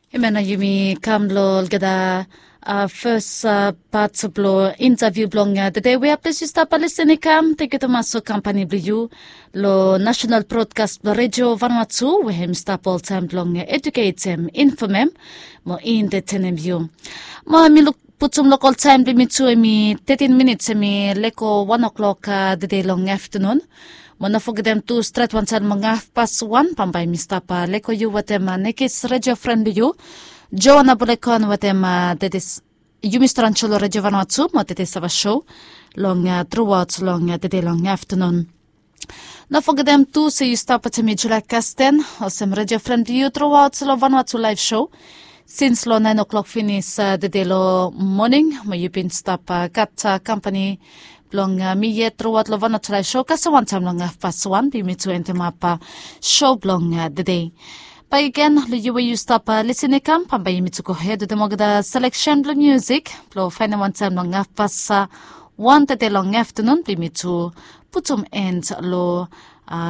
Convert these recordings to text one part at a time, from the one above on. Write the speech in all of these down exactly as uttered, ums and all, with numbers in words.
Hemia nao yumi kam long olgeta fes pat blong intaviu blong tede we aples yu stap lisin i kam. Tenkyu tumas long kampani blong yu long nasenal brodkas blong redio vanua tu we hem i stap oltaem blong eduketem, infomem mo entetenem yu. Mo mi luk putum lokol taem blong yumi tu hem i tetin minits hem i leko wan oklok tede long aftanun. Mo no fogetem tu stret wantaem long hafpas wan bambae mi stap leko yu wetem nekis redio fren blong yu, joana bolekon wetem dedis yumi stran sho long redio vanua tu mo dedis ava sho long truaot long tede long aftanun. No fogetem tu se yu stap wetem mi julae kasten olsem redio fren blong yu truaot long vanua tu laef sho sins long naen oklok finis tede long moning mo yu bin stap gat kampani blong mi yet truaot long vanua tu laef sho kasem wantaem long hafpas wan blong yumi tu endemap sho blong tede. Bakegen long yu we yu stap lisin i kam bambae yumi tu gohed wetem olgeta seleksen blong musik blong faenem wantaem long hafpas wan tede long aftanun blong yumi tu putum en long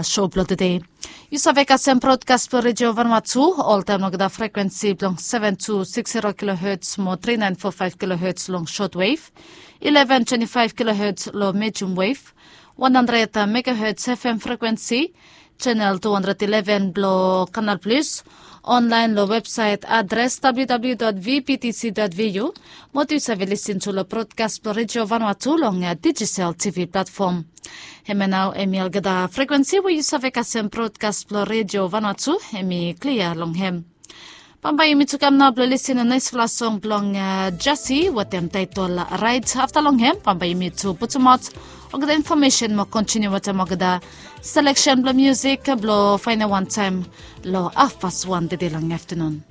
sho blong tede. Yu save kasem brodkas blong redio vanua tu oltaem long olgeta frekuensi blong seven two six zero kiloherts mo three nine four five kiloherts long shotwef, eleven twenty five kiloherts long medium wef, one hundred megaherts fm frekuensi, senel two hundred eleven blong kanal plis, onlaen long websaet adres www vptc vvu. Mo tu yu save lisin tu long brodkas blong redio vanua tu long dijital tv platfom. Hemia nao hem i olgeta frekuensi we yu save kasem brodkas blong redio vanua tu hem i klia long hem. Bambae yumi tu kam nao blong lisin long naesfala song blong jasi wetem taetol rait afta long hem bambae yumi tu putumaot olgeta infomesen mo kontiniu wetem olgeta seleksen blong musik blong faenem wantaem long hafpas wan tede long aftanun.